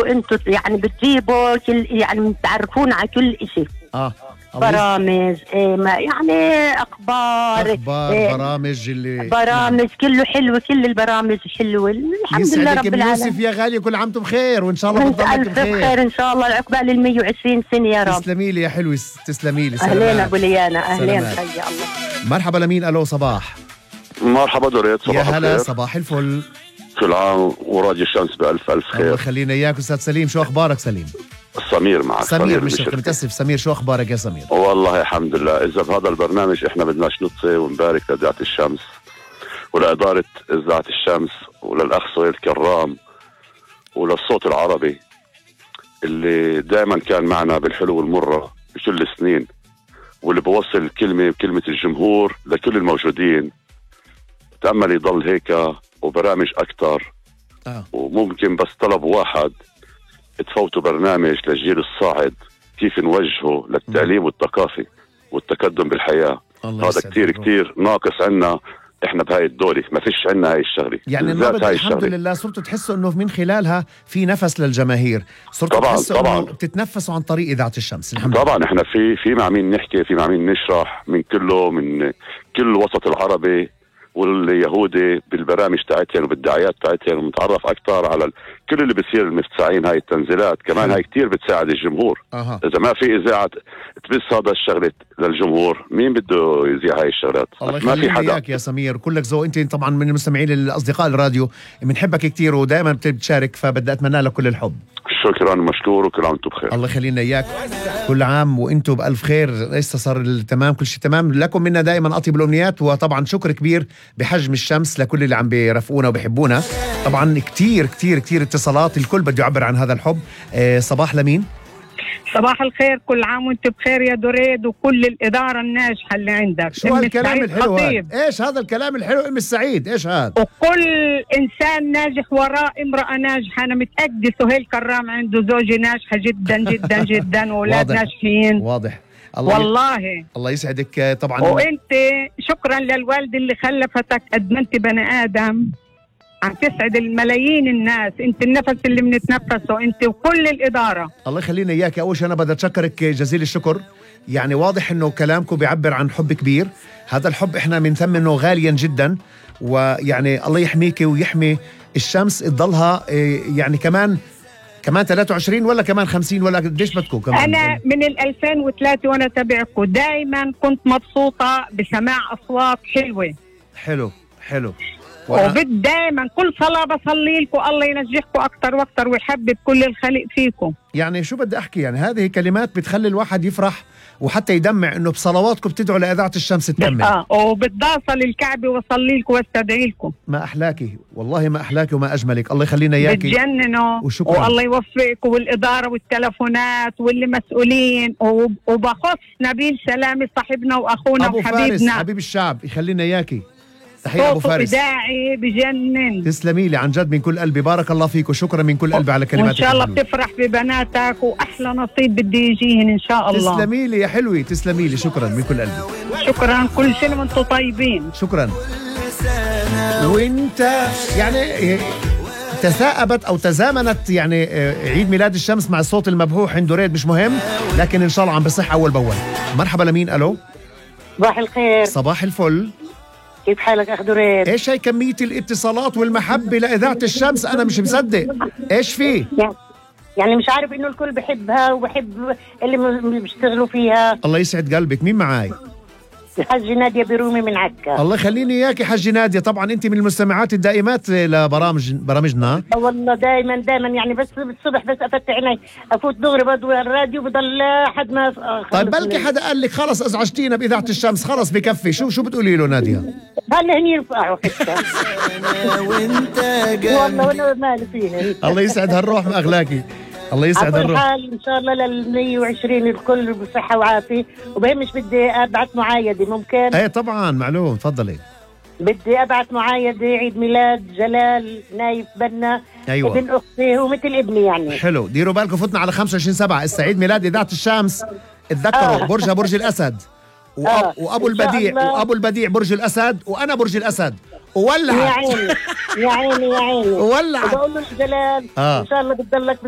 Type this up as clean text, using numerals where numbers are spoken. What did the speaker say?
انتوا يعني بتجيبوا كل يعني بتعرفونا على كل اشي. برامج يعني اخبار برامج برامج كله حلو، كل البرامج حلوه الحمد لله رب العالمين. يوسف يا غالي كل عام وانتم بخير، وان شاء الله بتضلك بخير ان شاء الله عقبال ال 120 سنه يا رب. تسلمي لي يا حلوه، تسلمي لي. اهلين ابو ليانا، اهلين حيا الله. مرحبا لمين؟ الو صباح. مرحبا دوريت، صباح الخير. يا هلا، الخير. صباح الفل. كل عام وراديو الشمس بألف ألف خير. الله خلينا إياك أستاذ سليم. شو أخبارك سليم؟ سمير معك. سمير مش متأسف. سمير شو أخبارك يا سمير؟ والله الحمد لله. إذا بهذا البرنامج إحنا بدناش نطفي ونبارك لإذاعة الشمس ولإدارة إذاعة الشمس وللأخ سهيل كرام وللصوت العربي اللي دائما كان معنا بالحلو والمرة بكل السنين، واللي بوصل كلمة الجمهور لكل الموجودين. تأمل يضل هيك وبرامج أكتر. وممكن بس طلب واحد، تفوتوا برنامج للجيل الصاعد كيف نوجهه للتعليم والثقافي والتقدم بالحياة. هذا كتير ناقص عنا احنا بهاي الدولة، ما فيش عنا هاي الشغلة. يعني الحمد لله صرتوا تحسوا انه من خلالها في نفس للجماهير، صرتوا تحسوا انه بتتنفسوا عن طريق إذاعة الشمس. الحمد لله. طبعا احنا في مع مين نحكي، في مع مين نشرح، من كل الوسط العربي واليهودي بالبرامج تاعتهم وبالدعايات تاعتهم، ونتعرف اكثر على كل اللي بيصير المفتسعين. هاي التنزيلات كمان هاي كتير بتساعد الجمهور. اذا ما في اذاعه تبث هذا الشغله للجمهور، مين بده يذيع هاي الشغلات؟ ما في حدا. يا سمير كلك ذوق، انت طبعا من المستمعين الاصدقاء الراديو، بنحبك كتير ودائما بتشارك، فبدي اتمنى لك كل الحب. شكرا ومشكور، وكل عام وانتم بخير. الله يخلينا اياك، كل عام وانتم بألف خير. لسه صار التمام، كل شيء تمام. لكم منا دائما اطيب الامنيات، وطبعا شكر كبير بحجم الشمس لكل اللي عم بيرافقونا وبيحبونا. طبعا كتير كتير كتير اتصالات، الكل بده يعبر عن هذا الحب. صباح لمين؟ صباح الخير، كل عام وانت بخير يا دوريد وكل الإدارة الناجحة اللي عندك. شو هالكلام الحلو هاد؟ ايش هذا الكلام الحلو ام السعيد؟ ايش هذا؟ وكل إنسان ناجح وراء امرأة ناجحة. أنا متأكدة سهيل كرام عنده زوجة ناجحة جدا جدا جدا وأولاد ناجحين. واضح. والله الله يسعدك. طبعا وانت شكرا للوالدة اللي خلفتك قد ما انت بني آدم عم تسعد الملايين الناس. انت النفس اللي بنتنفسه انت وكل الإدارة. الله يخلينا اياك. اول شيء انا بدي اتشكرك جزيل الشكر. يعني واضح انه كلامكم بيعبر عن حب كبير. هذا الحب احنا بنثمنه غاليا جدا، ويعني الله يحميك ويحمي الشمس تضلها يعني كمان 23 ولا كمان 50 ولا قديش بدكم كمان؟ انا من 2003 وانا تابعكم، دائما كنت مبسوطة بسماع اصوات حلوة. حلو. وبد دائما كل صلاة بصلي لكم الله ينجحكم أكتر وأكتر ويحبب كل الخلق فيكم. يعني شو بدي أحكي، يعني هذه كلمات بتخلي الواحد يفرح وحتى يدمع إنه بصلواتكم بتدعوا لإذاعة الشمس تكمل. وبتضاصل الكعبة وصلي لكم واستدعي لكم. ما أحلاكي والله، ما أحلاكي وما أجملك. الله يخلينا إياكي. بتجننوا. وشكرا. والله يوفقكم والإدارة والتلفونات واللي مسؤولين. وبخص نبيل سلامي صاحبنا وأخونا أبو وحبيبنا فارس حبيب الشعب، يخلينا إياكي. تحية أبو فارس. إذاعي بجنن. تسلمي لي عن جد من كل قلبي. بارك الله فيك وشكرا من كل قلبي على كلماتك. وإن شاء الله بتفرح ببناتك وأحلى نصيب بدي يجيهن إن شاء الله. تسلمي لي يا حلوي، تسلمي لي. شكرا من كل قلبي. شكرا، كل سنة وانتم طيبين. شكرا. وانت يعني تثاءبت أو تزامنت يعني عيد ميلاد الشمس مع الصوت المبحوح عند دوريد، مش مهم، لكن إن شاء الله عم بصح أول بأول. مرحبا لمين؟ ألو. صباح الخير. صباح الفل. كيف حالك أخ دوريد؟ إيش هاي كمية الاتصالات والمحبة لإذاعة الشمس؟ أنا مش مصدق. إيش فيه؟ يعني مش عارف إنه الكل بحبها وبحب اللي بيشتغلوا فيها. الله يسعد قلبك. مين معاي؟ الحاجة نادية برومي من عكا. الله يخليني إياك يا حاجة نادية. طبعا أنت من المستمعات الدائمات لبرامجنا. والله دائما يعني بس الصبح بس أفتح عيني أفوت دغري بضوي الراديو بضل لحد ما طيب بلكي حدا قال لك خلص أزعجتينا بإذاعة الشمس، خلص بكفي. شو بتقولي له نادية؟ هلا هني يرفعوا حتى. والله وانا مالي فيها. الله يسعد هالروح أغلاكي. الله يسعد الروح. حال ان شاء الله لل 120 الكل بصحه وعافيه. وبهمش بدي ابعث معايده ممكن؟ ايه طبعا معلوم، تفضلي. بدي ابعث معايده عيد ميلاد جلال نايف بنا. أيوة. ابن اختي هو مثل ابني يعني. حلو، ديروا بالكم فتنا على 25/7 السعيد ميلاد إذاعة الشمس. اتذكروا برجها برج الأسد. وابو البديع برج الأسد، وانا برج الأسد. وولع يا عيني يا عيني يا عيني. وولع. وبقول له جلال ان شاء الله بتضلك